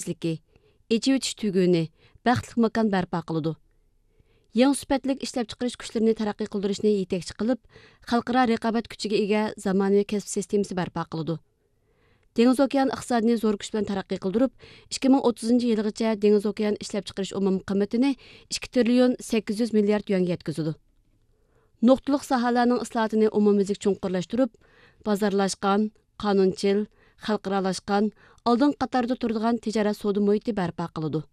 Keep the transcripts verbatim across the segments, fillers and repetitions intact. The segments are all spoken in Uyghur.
تېزلىكى، ئېچىۋېتىش تۈگۈنى، بەختلىك ماكان بەرپا قىلىدۇ. يېڭى سۈپەتلىك ئىشلەپچىقىرىش كۈچلىرىنى تەرەققىي قىلدۇرۇشنى يېتەكچى قىلىپ، خەلقئارا رىقابەت كۈچىگە ئىگە زامانىۋى كەسىپ سىستېمىسى بەرپا قىلىدۇ. دېڭىز ئوكيان ئىقتىسادىنى زور كۈچ بىلەن تەرەققىي قىلدۇرۇپ، ئىككى مىڭ ئوتتۇزىنچى يىلىغىچە دېڭىز ئوكيان ئىشلەپچىقىرىش ئومۇمىي قىممىتىنى ئىككى تىرىليون سەككىز يۈز مىليارد يۈەنگە يەتكۈزىدۇ. نۇقتىلىق ساھەلەرنىڭ ئىسلاھاتىنى ئومۇميۈزلۈك چوڭقۇرلاشتۇرۇپ، بازارلاشقان، قانۇنچىل، خەلقئارالاشقان، ئالدىنقى قاتاردا تۇرىدىغان تىجارەت سودا مۇھىتى بەرپا قىلىدۇ.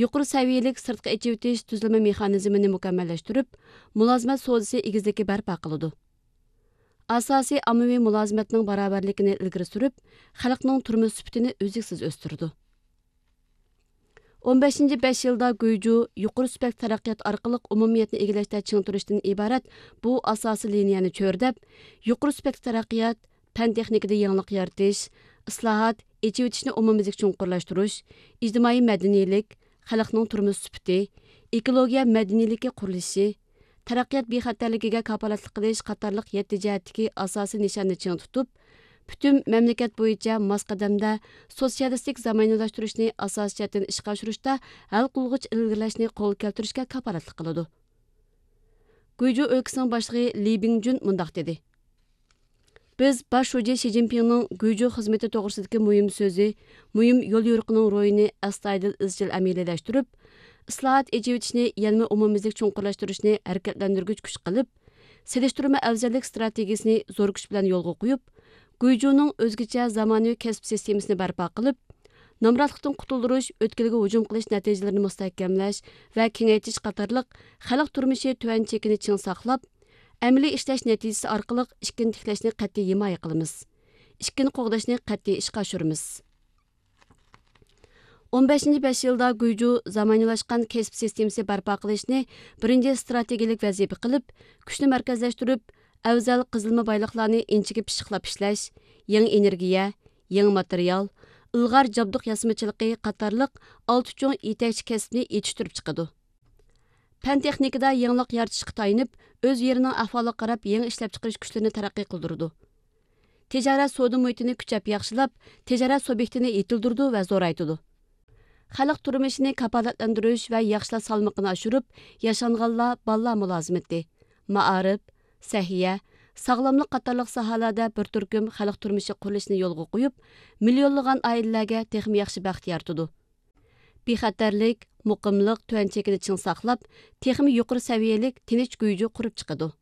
يۇقىرى سەۋىيەلىك سىرتقا ئېچىۋېتىش تۈزلىمە مېخانىزمىنى مۇكەممەللەشتۈرۈپ، مۇلازىمەت سودىسى ئېگىزلىكى بەرپا قىلىدۇ. ئاساسىي ئاممىۋى مۇلازىمەتنىڭ باراۋەرلىكىنى ئىلگىرى سۈرۈپ، خەلقنىڭ تۇرمۇش سۈپىتىنى ئۈزلۈكسىز ئۆستۈرىدۇ. ئون بەشىنچى بەش يىلدا گۇيجۇ يۇقىرى سۈپەتلىك تەرەققىيات ئارقىلىق ئومۇمىيەتنى ئىگىلەشتە چىڭ تۇرۇشتىن ئىبارەت بۇ ئاساسىي لىنىيەنى چۆرىدەپ، يۇقىرى سۈپەتلىك تەرەققىيات، پەن تېخنىكىدا يېڭىلىق يارىتىش، ئىسلاھات، ئېچىۋېتىشنى ئومۇميۈزلۈك چوڭقۇرلاشتۇرۇش، ئىجتىمائىي مەدەنىيلىك، خەلقنىڭ تۇرمۇش سۈپىتى، ئېكولوگىيە مەدەنىيلىكى قۇرۇلۇشى، تەرەققىيات بىخەتەرلىكىگە كاپالەتلىك قىلىش قاتارلىق يەتتە جەھەتتىكى ئاساسىي نىشاننى چىڭ تۇتۇپ، پۈتۈن مەملىكەت بويىچە ماس قەدەمدە سوتسىيالىستىك زامانىۋىلاشتۇرۇشنى ئاساسىي جەھەتتىن ئىشقا ئاشۇرۇشتا ھەل قىلغۇچ ئىلگىرىلەشنى قولغا كەلتۈرۈشكە كاپالەتلىك قىلىدۇ. گۇيجۇ ئۆلكىسىنىڭ باشلىقى لى بىڭجۈن مۇنداق دېدى: بىز باش شۇجى شى جىنپىڭنىڭ گۇيجۇ خىزمىتى توغرىسىدىكى مۇھىم سۆزى، مۇھىم يوليورۇقىنىڭ روھىنى ئەستايىدىل ئىزچىل ئەمەلىيلەشتۈرۈپ، ئىسلاھات، ئېچىۋېتىشنى يەنىمۇ ئومۇميۈزلۈك چوڭقۇرلاشتۇرۇشنى ھەرىكەتلەندۈرگۈچ كۈچ قىلىپ، سېلىشتۇرما ئەۋزەللىك ئىستراتېگىيىسىنى زور كۈچ بىلەن يولغا قويۇپ، گۇيجۇنىڭ ئۆزگىچە زامانىۋى كەسىپ سىستېمىسىنى بەرپا قىلىپ، نامراتلىقتىن قۇتۇلدۇرۇش، ئۆتكىلىگە ھۇجۇم قىلىش نەتىجىلىرىنى مۇستەھكەملەش ۋە كېڭەيتىش قاتارلىق خەلق تۇرمۇشى تۆۋەن چېكىنى چىڭ ساقلاپ، ئەمەلىي ئىشلەش نەتىجىسى ئارقىلىق ئىككىنى تىكلەشنى قەتئىي ھىمايە قىلىمىز. ئىككىنى قوغداشنى قەتئىي ئىشقا ئاشۇرىمىز. ئون بەشىنچى بەش يىلدا گۇيجۇ زامانىۋىلاشقان كەسىپ سىستېمىسى بەرپا قىلىشنى بىرىنچى ئىستراتېگىيەلىك ۋەزىپە قىلىپ، كۈچنى مەركەزلەشتۈرۈپ، ئەۋزەل قېزىلما بايلىقلارنى ئىنچىكە پىششىقلاپ ئىشلەش، يېڭى ئېنېرگىيە، يېڭى ماتېرىيال، ئىلغار جابدۇق ياسىمىچىلىقى قاتارلىق ئالتە چوڭ يېتەكچى كەسىپنى يېتىشتۈرۈپ چىقىدۇ. پەن تېخنىكىدا يېڭىلىق يارىتىشقا تايىنىپ، ئۆز يېرىنىڭ ئەھۋالىغا قاراپ يېڭى ئىشلەپچىقىرىش كۈچلىرىنى تەرەققىي قىلدۇرىدۇ. تىجارەت سودا مۇھىتىنى كۈچەپ ياخشىلاپ، تىجارەت سۇبيېكتىنى يېتىلدۈرىدۇ ۋە زورايتىدۇ. خەلق تۇرمۇشىنى كاپالەتلەندۈرۈش ۋە ياخشىلاش سالمىقىنى ئاشۇرۇپ، ياشانغانلار، بالىلار مۇلازىمىتى، مائارىپ، سەھىيە، ساغلاملىق قاتارلىق ساھەلەردە بىر تۈركۈم خەلق تۇرمۇشى قۇرۇلۇشىنى يولغا قويۇپ، مىليونلىغان ئائىلىلەرگە تېخىمۇ ياخشى بەخت يارىتىدۇ. بىخەتەرلىك، مۇقىملىق، تۆۋەن چېكىنى چىڭ ساقلاپ، تېخىمۇ يۇقىرى سەۋىيەلىك، تىنچ گۇيجۇ قۇرۇپ چىقىدۇ.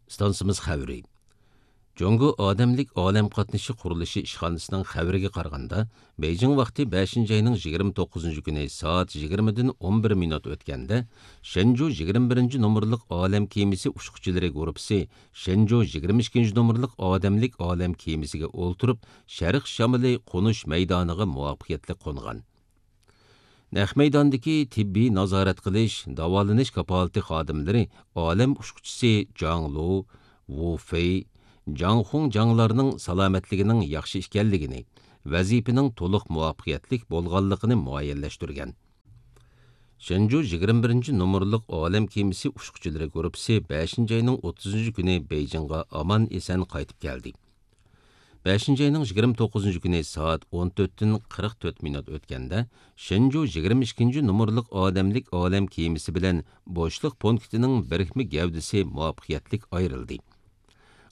ئىستانسىمىز خەۋىرى. جۇڭگو ئادەملىك ئالەم قاتنىشى قۇرۇلۇشى ئىشخانىسىنىڭ خەۋىرىگە قارىغاندا، بېيجىڭ ۋاقتى بەشىنچى ئاينىڭ يىگىرمە توققۇزىنچى كۈنى سائەت يىگىرمىدىن ئون بىر مىنۇت ئۆتكەندە، شېنجۇ يىگىرمە بىرىنچى نومۇرلۇق ئالەم كېمىسى ئۇچقۇچىلىرى گۇرۇپپىسى شېنجۇ يىگىرمە ئىككىنچى نومۇرلۇق ئادەملىك ئالەم كېمىسىگە ئولتۇرۇپ، شەرق شامىلى قونۇش مەيدانىغا مۇۋەپپەقىيەتلىك قونغان. نەق مەيداندىكى تېببىي نازارەت قىلىش، داۋالىنىش كاپالىتى خادىملىرى ئالەم ئۇچقۇچىسى جاڭ لۇ، ۋۇ فېي، جاڭ خۇڭ جاڭلارنىڭ سالامەتلىكىنىڭ ياخشى ئىكەنلىكىنى، ۋەزىپىنىڭ تولۇق مۇۋەپپەقىيەتلىك بولغانلىقىنى مۇئەييەنلەشتۈرگەن. شېنجۇ يىگىرمە بىرىنچى نومۇرلۇق ئالەم كېمىسى ئۇچقۇچىلىرى گۇرۇپپىسى بەشىنچى ئاينىڭ ئوتتۇزىنچى كۈنى بېيجىڭغا ئامان ئېسەن قايتىپ كەلدى. بەشىنچى ئاينىڭ يىگىرمە توققۇزىنچى كۈنى سائەت ئون تۆتتىن قىرىق تۆت مىنۇت ئۆتكەندە، شېنجۇ يىگىرمە ئىككىنچى نومۇرلۇق ئادەملىك ئالەم كېمىسى بىلەن بوشلۇق پونكىتىنىڭ بىرىكمە گەۋدىسى مۇۋەپپەقىيەتلىك ئايرىلدى.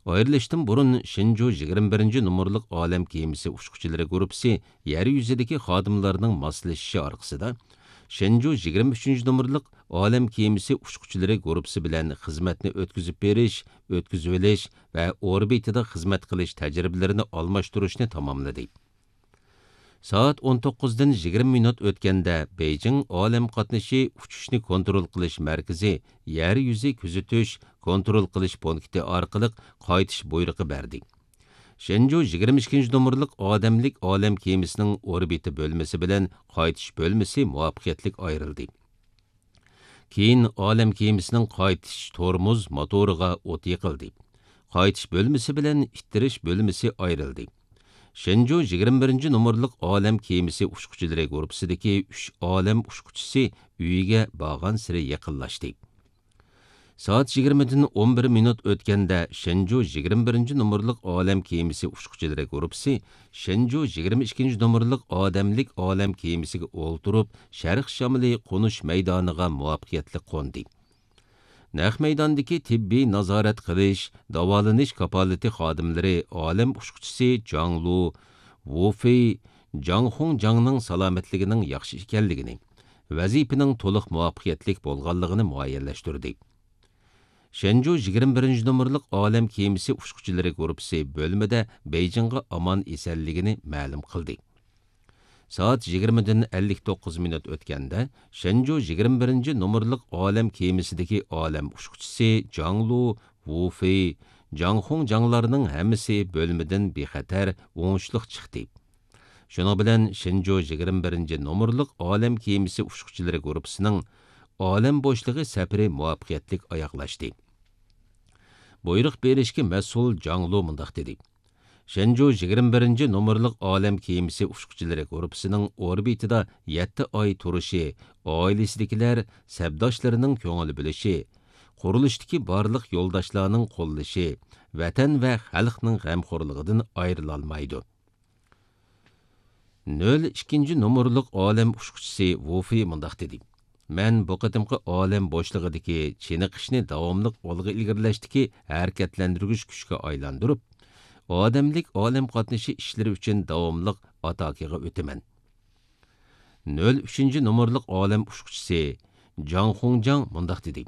ئايرىلىشتىن بۇرۇن، شېنجۇ يىگىرمە بىرىنچى نومۇرلۇق ئالەم كېمىسى ئۇچقۇچىلىرى گۇرۇپپىسى يەر يۈزىدىكى خادىملارنىڭ ماسلىشىشى ئارقىسىدا، شېنجۇ يىگىرمە ئۈچىنچى نومۇرلۇق ئالەم كېمىسى ئۇچقۇچىلىرى گۇرۇپپىسى بىلەن خىزمەتنى ئۆتكۈزۈپ بېرىش، ئۆتكۈزۈۋېلىش ۋە ئوربىتىدا خىزمەت قىلىش تەجرىبىلىرىنى ئالماشتۇرۇشنى تاماملىدى. سائەت ئون توققۇزدىن يىگىرمە مىنۇت ئۆتكەندە، بېيجىڭ ئالەم قاتنىشى ئۇچۇشنى كونترول قىلىش مەركىزى يەر يۈزى كۆزىتىش، كونترول قىلىش پونكىتى ئارقىلىق قايتىش بۇيرۇقى بەردى. شېنجۇ يىگىرمە ئىككىنچى نومۇرلۇق ئادەملىك ئالەم كېمىسىنىڭ ئوربىتا بۆلمىسى بىلەن قايتىش بۆلمىسى مۇۋەپپەقىيەتلىك ئايرىلدى. كېيىن ئالەم كېمىسىنىڭ قايتىش تورمۇز موتورىغا ئوت يېقىلدى. قايتىش بۆلمىسى بىلەن ئىتتىرىش بۆلمىسى ئايرىلدى. شېنجۇ يىگىرمە بىرىنچى نومۇرلۇق ئالەم كېمىسى ئۇچقۇچىلىرى گۇرۇپپىسىدىكى ئۈچ ئالەم ئۇچقۇچىسى ئۆيىگە بارغانسېرى يېقىنلاشتى. سائەت يىگىرمىدىن ئون بىر مىنۇت ئۆتكەندە، شېنجۇ يىگىرمە بىرىنچى نومۇرلۇق ئالەم كېمىسى ئۇچقۇچىلىرى گۇرۇپپىسى شېنجۇ يىگىرمە ئىككىنچى نومۇرلۇق ئادەملىك ئالەم كېمىسىگە ئولتۇرۇپ، شەرق شامىلى قونۇش مەيدانىغا مۇۋەپپەقىيەتلىك قوندى. نەق مەيداندىكى تېببىي نازارەت قىلىش، داۋالىنىش كاپالىتى خادىملىرى ئالەم ئۇچقۇچىسى جاڭ لۇ، ۋۇ فېي، جاڭ خۇڭ جاڭنىڭ سالامەتلىكىنىڭ ياخشى ئىكەنلىكىنى، ۋەزىپىنىڭ تولۇق مۇۋەپپەقىيەتلىك بولغانلىقىنى مۇئەييەنلەشتۈردى. شېنجۇ يىگىرمە بىرىنچى نومۇرلۇق ئالەم كېمىسى ئۇچقۇچىلىرى گۇرۇپپىسى بۆلمىدە بېيجىڭغا ئامان ئېسەنلىكىنى مەلۇم قىلدى. سائەت يىگىرمىدىن ئەللىك توققۇز مىنۇت ئۆتكەندە، شېنجۇ يىگىرمە بىرىنچى نومۇرلۇق ئالەم كېمىسىدىكى ئالەم ئۇچقۇچىسى جاڭ لۇ، ۋۇ فېي، جاڭ خۇڭ جاڭلارنىڭ ھەممىسى بۆلمىدىن بىخەتەر، ئوڭۇشلۇق چىقتى. شۇنىڭ بىلەن شېنجۇ يىگىرمە بىرىنچى نومۇرلۇق ئالەم كېمىسى ئۇچقۇچىلىرى گۇرۇپپىسىنىڭ ئالەم بوشلۇقى سەپىرى مۇۋەپپەقىيەتلىك ئاياغلاشتى. بۇيرۇق بېرىشكە مەسئۇل جاڭ لۇ مۇنداق دېدى: شېنجۇ يىگىرمە بىرىنچى نومۇرلۇق ئالەم كېمىسى ئۇچقۇچىلىرى گۇرۇپپىسىنىڭ ئوربىتىدا يەتتە ئاي تۇرۇشى، ئائىلىسىدىكىلەر، سەپداشلىرىنىڭ كۆڭۈل بۆلۈشى، قۇرۇلۇشتىكى بارلىق يولداشلارنىڭ قوللىشى ۋەتەن ۋە خەلقنىڭ غەمخورلۇقىدىن ئايرىلالمايدۇ. نۆل ئىككىنچى نومۇرلۇق ئالەم ئۇچقۇچىسى ۋۇ فېي مۇنداق دېدى: مەن بۇ قېتىمقى ئالەم بوشلۇقىدىكى چېنىقىشنى داۋاملىق ئالغا ئىلگىرىلەشتىكى ھەرىكەتلەندۈرگۈچ كۈچكە ئايلاندۇرۇپ، ئادەملىك ئالەم قاتنىشى ئىشلىرى ئۈچۈن داۋاملىق ئاتاكىغا ئۆتىمەن. نۆل ئۈچىنچى نومۇرلۇق ئالەم ئۇچقۇچىسى جاڭ خۇڭجاڭ مۇنداق دېدى: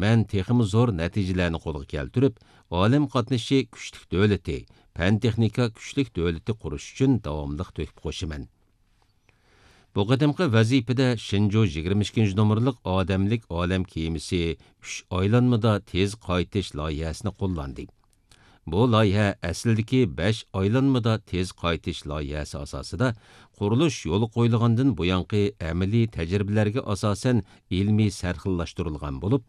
مەن تېخىمۇ زور نەتىجىلەرنى قولغا كەلتۈرۈپ، ئالەم قاتنىشى كۈچلۈك دۆلىتى، پەن تېخنىكا كۈچلۈك دۆلىتى قۇرۇش ئۈچۈن داۋاملىق تۆھپە قوشىمەن. بۇ قېتىمقى ۋەزىپىدە شېنجۇ يىگىرمە ئىككىنچى نومۇرلۇق ئادەملىك ئالەم كېمىسى ئۈچ ئايلانمىدا تېز قايتىش لايىھەسىنى قوللاندى. بۇ لايىھە ئەسلىدىكى بەش ئايلانمىدا تېز قايتىش لايىھەسى ئاساسىدا قۇرۇلۇش يولغا قويۇلغاندىن بۇيانقى ئەمەلىي تەجرىبىلەرگە ئاساسەن ئىلمىي سەرخىللاشتۇرۇلغان بولۇپ،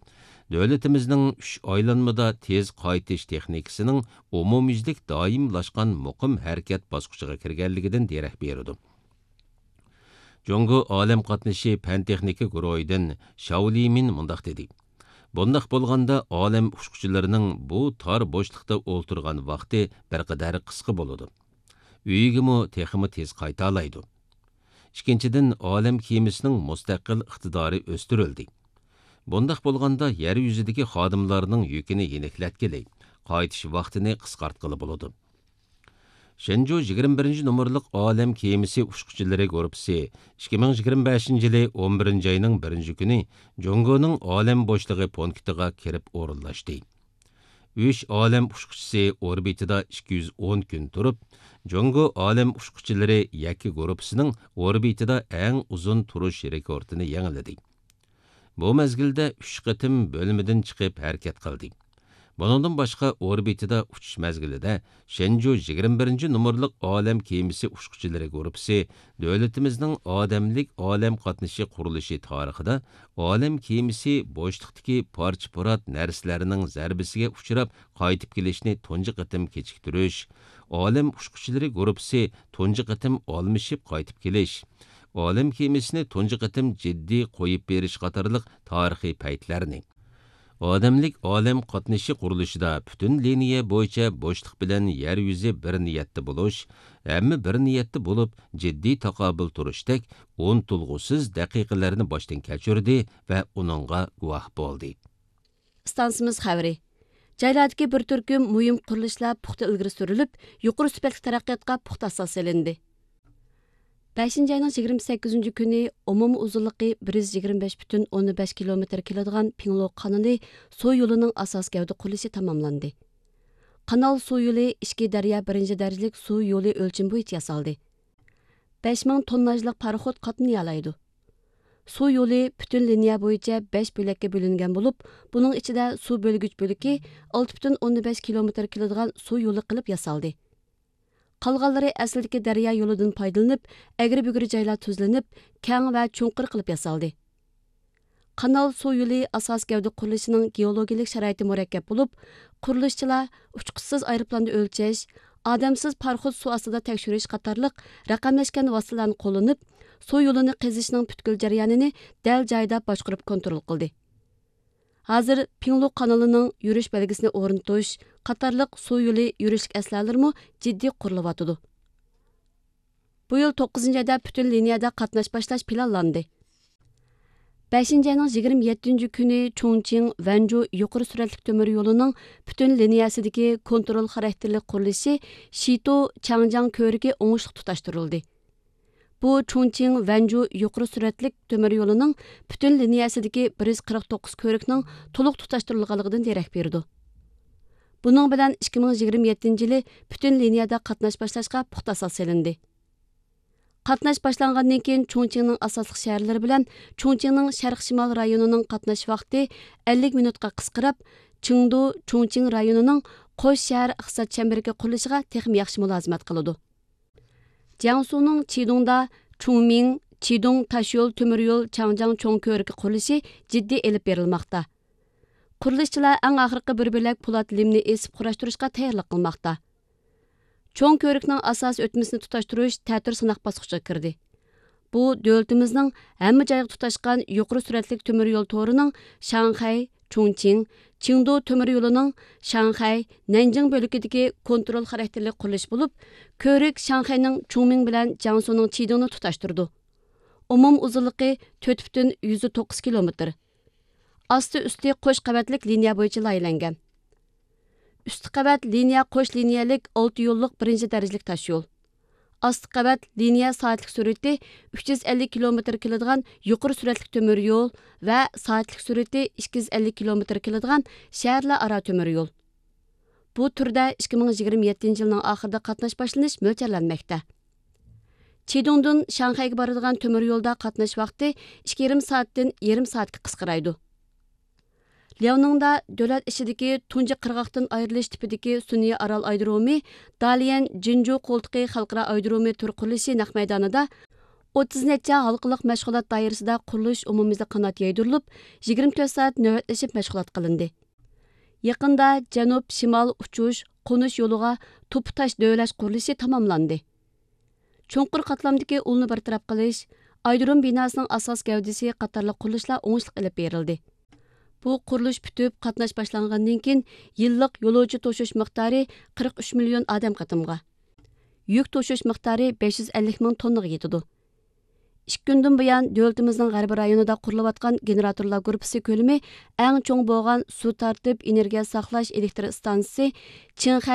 دۆلىتىمىزنىڭ ئۈچ ئايلانمىدا تېز قايتىش تېخنىكىسىنىڭ ئومۇميۈزلۈك دائىملاشقان مۇقىم ھەرىكەت باسقۇچىغا كىرگەنلىكىدىن دېرەك بېرىدۇ. جۇڭگو ئالەم قاتنىشى پەن تېخنىكا گۇرۇھىدىن شاۋ لىمىن مۇنداق دېدى: بۇنداق بولغاندا ئالەم ئۇچقۇچىلىرىنىڭ بۇ تار بوشلۇقتا ئولتۇرغان ۋاقتى بىر قەدەر قىسقا بولىدۇ. ئۆيىگىمۇ تېخىمۇ تېز قايتالايدۇ. ئىككىنچىدىن، ئالەم كېمىسىنىڭ مۇستەقىل ئىقتىدارى ئۆستۈرۈلدى. بۇنداق بولغاندا يەر يۈزىدىكى خادىملارنىڭ يۈكىنى يېنىكلەتكىلى، قايتىش ۋاقتىنى قىسقارتقىلى بولىدۇ. شېنجۇ يىگىرمە بىرىنچى نومۇرلۇق ئالەم كېمىسى ئۇچقۇچىلىرى گۇرۇپپىسى ئىككى مىڭ يىگىرمە بەشىنچى يىلى ئون بىرىنچى ئاينىڭ بىرىنچى كۈنى جۇڭگونىڭ ئالەم بوشلۇقى پونكىتىغا كىرىپ ئورۇنلاشتى. ئۈچ ئالەم ئۇچقۇچىسى ئوربىتىدا ئىككى يۈز ئون كۈن تۇرۇپ، جۇڭگو ئالەم ئۇچقۇچىلىرى يەككە گۇرۇپپىسىنىڭ ئوربىتىدا ئەڭ ئۇزۇن تۇرۇش رېكورتىنى يېڭىلىدى. بۇ مەزگىلدە ئۈچ قېتىم بۆلمىدىن چىقىپ ھەرىكەت قىلدى. بۇنىڭدىن باشقا، ئوربىتىدا ئۇچۇش مەزگىلىدە شېنجۇ يىگىرمە بىرىنچى نومۇرلۇق ئالەم كېمىسى ئۇچقۇچىلىرى گۇرۇپپىسى دۆلىتىمىزنىڭ ئادەملىك ئالەم قاتنىشى قۇرۇلۇشى تارىخىدا ئالەم كېمىسى بوشلۇقتىكى پارچە-پۇرات نەرسىلەرنىڭ زەربىسىگە ئۇچراپ قايتىپ كېلىشنى تۇنجى قېتىم كېچىكتۈرۈش، ئالەم ئۇچقۇچىلىرى گۇرۇپپىسى تۇنجى قېتىم ئالمىشىپ قايتىپ كېلىش، ئالەم كېمىسىنى تۇنجى قېتىم جىددىي قويۇپ بېرىش قاتارلىق تارىخىي پەيتلەرنى، ئادەملىك ئالەم قاتنىشى قۇرۇلۇشىدا پۈتۈن لىنىيە بويىچە بوشلۇق بىلەن يەر يۈزى بىر نىيەتتە بولۇش، ھەممە بىر نىيەتتە بولۇپ، جىددىي تاقابىل تۇرۇشتەك ئۇنتۇلغۇسىز دەقىقىلەرنى باشتىن كەچۈردى ۋە ئۇنىڭغا گۇۋاھ بولدى. ئىستانسىمىز خەۋىرى. جايلاردىكى بىر تۈركۈم مۇھىم قۇرۇلۇشلار پۇختا ئىلگىرى سۈرۈلۈپ، يۇقىرى سۈپەتلىك تەرەققىياتقا پۇختا ئاساس سېلىندى. بەشىنچى ئاينىڭ يىگىرمە سەككىزىنچى كۈنى ئومۇمىي ئۇزۇنلۇقى بىر يۈز يىگىرمە بەش پۈتۈن ئوندىن بەش كىلومېتىر كېلىدىغان پىڭلو قانىلى سۇ يولىنىڭ ئاساس گەۋدە قۇرۇلۇشى تاماملاندى. قانال سۇ يولى ئىچكى دەريا بىرىنچى دەرىجىلىك سۇ يولى ئۆلچىمى بويىچە ياسالدى. بەش مىڭ تونناژلىق پاراخوت قاتنىيالايدۇ. سۇ يولى پۈتۈن لىنىيە بويىچە بەش بۆلەككە بۆلۈنگەن بولۇپ، بۇنىڭ ئىچىدە سۇ بۆلگۈچ بۆلىكى ئالتە پۈتۈن ئوندىن بەش كىلومېتىر كېلىدىغان سۇ يولى قىلىپ ياسالدى. قالغانلىرى ئەسلىدىكى دەريا يولىدىن پايدىلىنىپ، ئەگرى-بۈگرى جايلار تۈزلىنىپ، كەڭ ۋە چوڭقۇر قىلىپ ياسالدى. قانال سۇ يولى ئاساسىي گەۋدە قۇرۇلۇشىنىڭ گېئولوگىيىلىك شارائىتى مۇرەككەپ بولۇپ، قۇرۇلۇشچىلار ئۇچقۇچىسىز ئايروپىلاندا ئۆلچەش، ئادەمسىز پاراخوت سۇ ئاستىدا تەكشۈرۈش قاتارلىق رەقەملەشكەن ۋاسىتىلەرنى قوللىنىپ، سۇ يولىنى قېزىشنىڭ پۈتكۈل جەريانىنى دەل جايىدا باشقۇرۇپ كونترول قىلدى. ھازىر پىڭلۇ قانىلىنىڭ يۈرۈش بەلگىسىنى ئورنىتىش قاتارلىق سۇ يولى يۈرۈشلۈك ئەسلىھەلىرىمۇ جىددىي قۇرۇلۇۋاتىدۇ. بۇ يىل توققۇزىنچى ئايدا پۈتۈن لىنىيەدە قاتناش باشلاش پىلانلاندى. بەشىنچى ئاينىڭ يىگىرمە يەتتىنچى كۈنى چۇڭچىڭ ۋەنجۇ يۇقىرى سۈرئەتلىك تۆمۈر يولىنىڭ پۈتۈن لىنىيەسىدىكى كونترول خاراكتېرلىك قۇرۇلۇشى شىتو چاڭجياڭ كۆۋرۈكى ئوڭۇشلۇق تۇتاشتۇرۇلدى. بۇ چۇڭچىڭ ۋەنجۇ يۇقىرى سۈرئەتلىك تۆمۈر يولىنىڭ پۈتۈن لىنىيەسىدىكى بىر يۈز قىرىق توققۇز كۆۋرۈكنىڭ تولۇق تۇتاشتۇرۇلغانلىقىدىن دېرەك بېرىدۇ. بۇنىڭ بىلەن ئىككى مىڭ يىگىرمە يەتتىنچى يىلى پۈتۈن لىنىيەدە قاتناش باشلاشقا پۇختا ئاساس سېلىندى. قاتناش باشلانغاندىن كېيىن، چۇڭچىڭنىڭ ئاساسلىق شەھەرلىرى بىلەن چۇڭچىڭنىڭ شەرق شىمال رايونىنىڭ قاتناش ۋاقتى ئەللىك مىنۇتقا قىسقىراپ، چېڭدۇ چۇڭچىڭ رايونىنىڭ قوش شەھەر ئىقتىساد چەمبىرىكى قۇرۇلۇشىغا تېخىمۇ ياخشى مۇلازىمەت قىلىدۇ. جياڭسۇنىڭ چىدۇڭدا چۇڭمىڭ، چىدۇڭ تاشيول تۆمۈر يول چاڭجياڭ چوڭ كۆۋرۈكى قۇرۇلۇشى جىددىي ئېلىپ بېرىلماقتا. قۇرۇلۇشچىلار ئەڭ ئاخىرقى بىر بۆلەك پولات لىمنى ئېسىپ قۇراشتۇرۇشقا تەييارلىق قىلماقتا. چوڭ كۆۋرۈكنىڭ ئاساسىي ئۆتمىسىنى تۇتاشتۇرۇش تەتۈر سىناق باسقۇچىغا كىردى. بۇ دۆلىتىمىزنىڭ ھەممە جايغا تۇتاشقان يۇقىرى سۈرئەتلىك تۆمۈر يول تورىنىڭ شاڭخەي، چۇڭچىڭ، چېڭدۇ تۆمۈر يولىنىڭ شاڭخەي، نەنجىڭ بۆلىكىدىكى كونترول خاراكتېرلىك قۇرۇلۇشى بولۇپ، كۆۋرۈك شاڭخەينىڭ چۇڭمىڭ بىلەن جياڭسۇنىڭ چىدىڭنى تۇتاشتۇرىدۇ. ئومۇم ئۇزۇنلۇقى تۆت پۈتۈن يۈزدە توققۇز كىلومېتىر. ئاستى ئۈستى قوش قەۋەتلىك لىنىيە بويىچە لايىھەلەنگەن. ئۈستى قەۋەت لىنىيە قوش لىنىيەلىك ئالتە يوللۇق بىرىنچى دەرىجىلىك تاشيول. ئاستى قەۋەت لىنىيە سائەتلىك سۈرئىتى ئۈچ يۈز ئەللىك كىلومېتىر كېلىدىغان يۇقىرى سۈرئەتلىك تۆمۈر يول ۋە سائەتلىك سۈرئىتى ئىككى يۈز ئەللىك كىلومېتىر كېلىدىغان شەھەرلەر ئارا تۆمۈر يول. بۇ تۈردە ئىككى مىڭ يىگىرمە يەتتىنچى يىلنىڭ ئاخىرىدا قاتناش باشلىنىش مۆلچەرلەنمەكتە. چىدۇڭدىن شاڭخەيگە بارىدىغان تۆمۈر يولدا قاتناش ۋاقتى ئىككى يېرىم سائەتتىن يېرىم سائەتكە قىسقىرايدۇ. لياۋنىڭدا دۆلەت ئىچىدىكى تۇنجى قىرغاقتىن ئايرىلىش تىپىدىكى سۈنئىي ئارال ئايرودرومى، داليەن جىنجۇ قولتۇقى خەلقئارا ئايرودرومى تۈر قۇرۇلۇشى نەق مەيدانىدا ئوتتۇز نەچچە ھالقىلىق مەشغۇلات دائىرىسىدا قۇرۇلۇش ئومۇميۈزلۈك قانات يايدۇرۇلۇپ، يىگىرمە تۆت سائەت نۆۋەتلىشىپ مەشغۇلات قىلىندى. يېقىندا جەنۇب شىمال ئۇچۇش، قونۇش يولىغا توپا تاش دۆۋىلەش قۇرۇلۇشى تاماملاندى. چوڭقۇر قاتلامدىكى ئۇلنى بىر تەرەپ قىلىش، ئايرودروم بىناسىنىڭ ئاساس گەۋدىسى قاتارلىق قۇرۇلۇشلار ئوڭۇشلۇق ئېلىپ بېرىلدى. بۇ قۇرۇلۇش پۈتۈپ، قاتناش باشلانغاندىن كېيىن، يىللىق يولۇچى توشۇش مىقدارى قىرىق ئۈچ مىليون ئادەم قېتىمغا، يۈك توشۇش مىقدارى بەش يۈز ئەللىك مىڭ توننىغا يېتىدۇ. ئىككى كۈندىن بۇيان، دۆلىتىمىزنىڭ غەربىي رايونىدا قۇرۇلۇۋاتقان گېنېراتورلار گۇرۇپپىسى كۆلىمى ئەڭ چوڭ بولغان سۇ تارتىپ ئېنېرگىيە ساقلاش ئېلېكتر ئىستانسىسى چىڭخەي